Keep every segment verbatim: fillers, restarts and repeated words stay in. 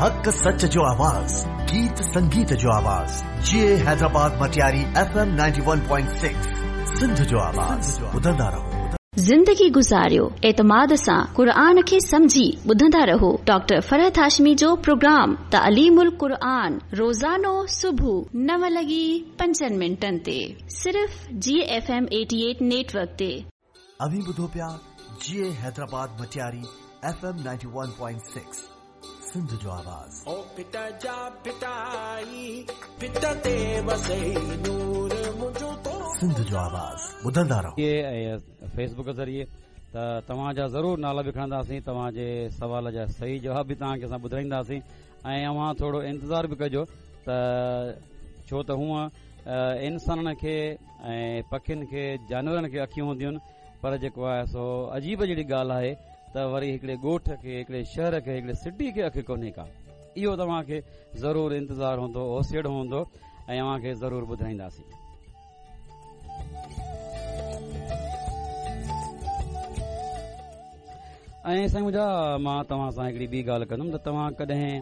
हक़ सच जो आवाज़, गीत संगीत जो आवाज़, जी Hyderabad Matiari F M ninety one point six, Sindh जो आवाज़। ॿुधंदा रहो। ज़िंदगी गुज़ारियो एतमाद सां क़ुरआन खे सम्झी ॿुधंदा रहो। डॉक्टर फरहत हाशमी जो प्रोग्राम तालीमुल क़ुरआन रोज़ानो सुबुह नव लॻी पंजनि मिंटनि ते सिर्फ़ G F M eighty eight network ते। अव्हीं ॿुधो पिया जी Hyderabad Matiari F M ninety one point six, Sindh जो आवाज़। ओ पिता जा पिताई पिता ते वसे नूर मुंहिंजो तो सिंध जो आवाज़ ॿुधंदा रहो। ऐं फेसबुक ज़रिए त तव्हांजा ज़रूरु नाला बि खणंदासीं, तव्हांजे सवाल जा सही जवाब बि तव्हांखे असां ॿुधाईंदासीं ऐं अव्हां थोरो इंतज़ारु बि कजो त छो त हूअं इंसाननि खे ऐं पखियुनि खे जानवरनि खे अखियूं हूंदियूं आहिनि, पर जेको आहे सो अजीब जहिड़ी ॻाल्हि आहे त वरी हिकिड़े ॻोठ खे, हिकिड़े शहर खे, हिकिड़े सिटी खे अखि कोन्हे का। इहो तव्हांखे ज़रूरु इंतज़ारु हूंदो, ओसेड़ो हूंदो ऐं अव्हांखे ज़रूरु ॿुधाईंदासीं। ऐं साईं मुंहिंजा, मां तव्हां सां हिकिड़ी ॿी ॻाल्हि कंदुमि त तव्हां कॾहिं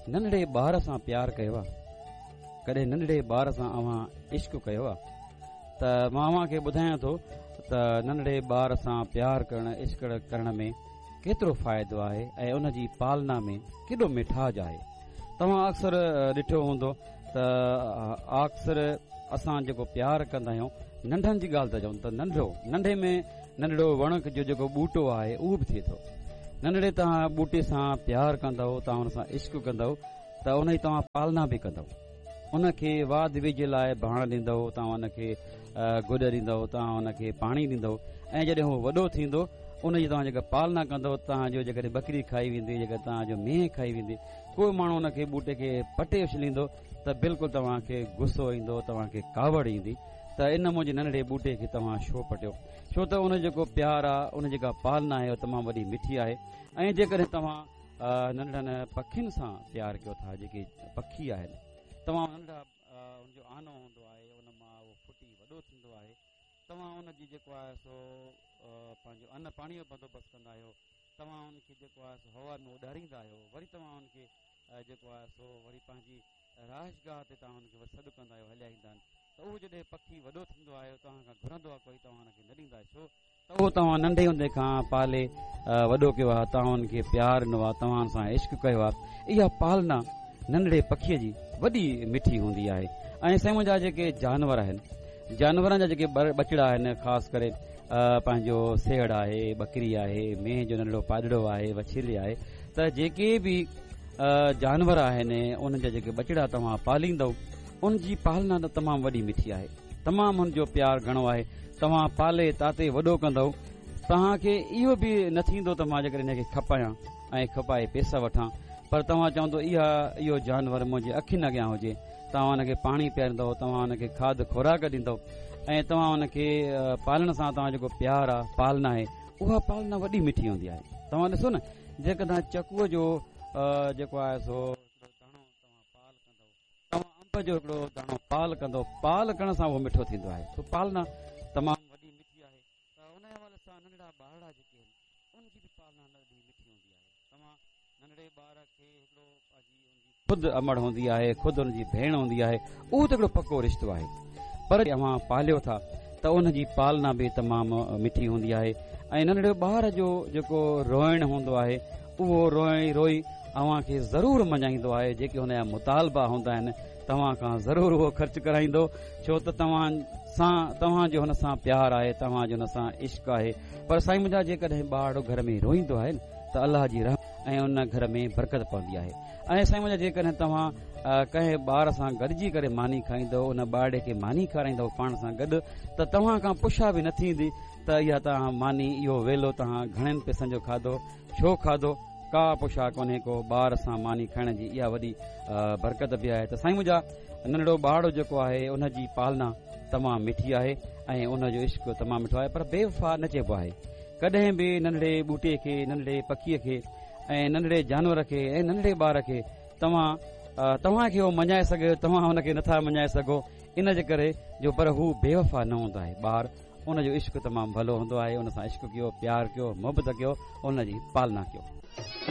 नंढड़े ॿार सां प्यार कयो आहे? कॾहिं नंढड़े ॿार सां अव्हां इश्क कयो आहे? त मां अव्हांखे ॿुधायां थो त नंढड़े ॿार सां प्यार करण, इश्क करण में केतिरो फ़ाइदो आहे ऐं उन जी पालना में केॾो मिठाज आहे। तव्हां अक्सर ॾिठो हूंदो त अक्सर असां जेको प्यार कंदा आहियूं, नंढनि जी ॻाल्हि था चऊं त नंढो, नंढे में नंढड़ो वण जो जेको ॿूटो आहे उहो बि थिए थो। नंढड़े तव्हां ॿूटे सां प्यार कंदव, तव्हां हुन सां इश्क कंदव त उन जी तव्हां पालना बि कंदव, उनखे वाध वेझ लाइ भाण ॾींदव, तव्हां उनखे गुॾ ॾींदव, तव्हां उनखे पाणी ॾींदव ऐं जॾहिं उहो वॾो थींदो उनजी तव्हां जेका पालना कंदव, तव्हांजो जेकॾहिं बकरी खाई वेंदी, जेका तव्हांजो मींहुं खाई वेंदी, को माण्हू उनखे ॿूटे खे पटे उछलींदो त बिल्कुलु तव्हांखे गुस्सो ईंदो, तव्हांखे कावड़ ईंदी त इन मुंहिंजे नंढड़े ॿूटे खे तव्हां छो पटियो? छो त उन जेको प्यार आहे, उन जेका पालना आहे उहा तमामु वॾी मिठी आहे। ऐं जेकॾहिं तव्हां नंढड़नि पखियुनि सां प्यार कयो था, जेके पखी आहिनि, तव्हां नंढा उनजो आनो हूंदो आहे, उन मां उहो फुटी वॾो थींदो आहे, तव्हां उनजी जेको आहे सो पंहिंजो अन पाणीअ जो बंदोबस्तु कंदा आहियो, तव्हां उनखे जेको आहे सो हवा में उॾारींदा आहियो, वरी तव्हां उनखे जेको आहे सो वरी पंहिंजी रहाइशगाह ते तव्हां हुनखे सॾु कंदा आहियो, हलिया ईंदा आहिनि। त उहो जॾहिं पखी वॾो थींदो आहे, तव्हां खां घुरंदो आहे कोई, तव्हां हुनखे न ॾींदा आहियो, छो त उहो तव्हां नंढे हूंदे खां पाले वॾो कयो आहे, तव्हां हुनखे प्यार ॾिनो आहे, तव्हां हुन सां इश्क कयो आहे। इहा पालना नंढड़े पखीअ जी वॾी मिठी हूंदी आहे। ऐं साईं मुंहिंजा जेके जानवर आहिनि, जानवरनि जा जेके बचड़ा आहिनि, ख़ासि करे पंहिंजो सेहड़ आहे, बकरी आहे, मेंहं जो नंढड़ो पाॾड़ो आहे, वछेली आहे, त जेके बि जानवर आहिनि उन्हनि जा जेके बचड़ा तव्हां पालींदव, उनजी पालना त तमामु वॾी मिठी आहे, तमामु हुनजो प्यार घणो आहे। तव्हां पाले ताते वॾो कंदव, तव्हांखे इहो बि न थींदो त मां जेकॾहिं हिनखे खपायां ऐं खपाए पैसा वठां, पर तव्हां चवंदो इहा इहो जानवर मुंहिंजे अखियुनि अॻियां हुजे। तव्हां हुनखे पाणी पीआरींदव, तव्हां हुनखे खाद खुराक ॾींदव ऐं तव्हां हुनखे पालण सां तव्हां जेको प्यार आहे, पालना आहे, उहा पालना वॾी मिठी हूंदी आहे। तव्हां ॾिसो न, जेकॾहिं तव्हां चकूअ जो जेको आहे सो दाणो तव्हां पाल कंदव, तव्हां अंब जो हिकिड़ो दाणो पाल कंदव, पाल करण सां उहो मिठो थींदो आहे। त पालना तमामु वॾी मिठी आहे। त उन हवाले सां नंढड़ा ॿारड़ा जेके आहिनि उनजी बि पालना ॾाढी मिठी हूंदी आहे। तव्हां नंढड़े ॿार खे हिकिड़ो पंहिंजी ख़ुदि अमड़ हूंदी आहे, ख़ुदि हुनजी भेण हूंदी आहे, उहो त हिकिड़ो पको रिश्तो आहे, पर अव्हां पालियो था त उनजी पालना बि तमामु मिठी हूंदी आहे। ऐं नंढड़े ॿार जो जेको रोइणु हूंदो आहे, उहो रोई रोई अव्हांखे ज़रूरु मञाईंदो आहे। जेके हुनजा मुतालबा हूंदा आहिनि तव्हां खां ज़रूरु उहो ख़र्चु कराईंदो, छो त तव्हां सां तव्हांजो हुन सां प्यार आहे, तव्हांजो हुन सां इश्क आहे। पर साईं मुंहिंजा, जेकॾहिं ॿार घर में रोईंदो आहे न त अलाह जी रहम ऐं उन घर में बरकत पवंदी आहे। ऐं साईं मुंहिंजा, जेकॾहिं तव्हां कंहिं ॿार सां गॾिजी करे मानी खाईंदव, उन ॿारड़े खे मानी खाराईंदव पाण सां गॾु, त तव्हां खां पुछा बि न थींदी त इहा तव्हां मानी, इहो वेलो तव्हां घणनि पैसनि जो खाधो, छो खाधो, का पुछा कोन्हे को। ॿार सां मानी खाइण जी इहा वॾी बरकत बि आहे। त साईं मुंहिंजा, नंढड़ो ॿारड़ो जेको आहे उनजी पालना तमामु मिठी आहे ऐं उनजो इश्क तमामु मिठो आहे, पर बेवफ़ा न चइबो आहे। कॾहिं बि नंढड़े ॿूटे खे, नंढड़े पखीअ खे ऐं नंढड़े जानवर खे ऐं नंढड़े ॿार खे तव्हां तव्हांखे उहो मञाए सघे, तव्हां हुनखे नथा मञाए सघो, इन जे करे जो पर हू बेवफ़ा न हूंदो आहे। ॿार उनजो इश्क तमामु भलो हूंदो आहे, उन सां इश्क कयो, प्यार कयो, मोहबत कयो, उनजी पालना कयो।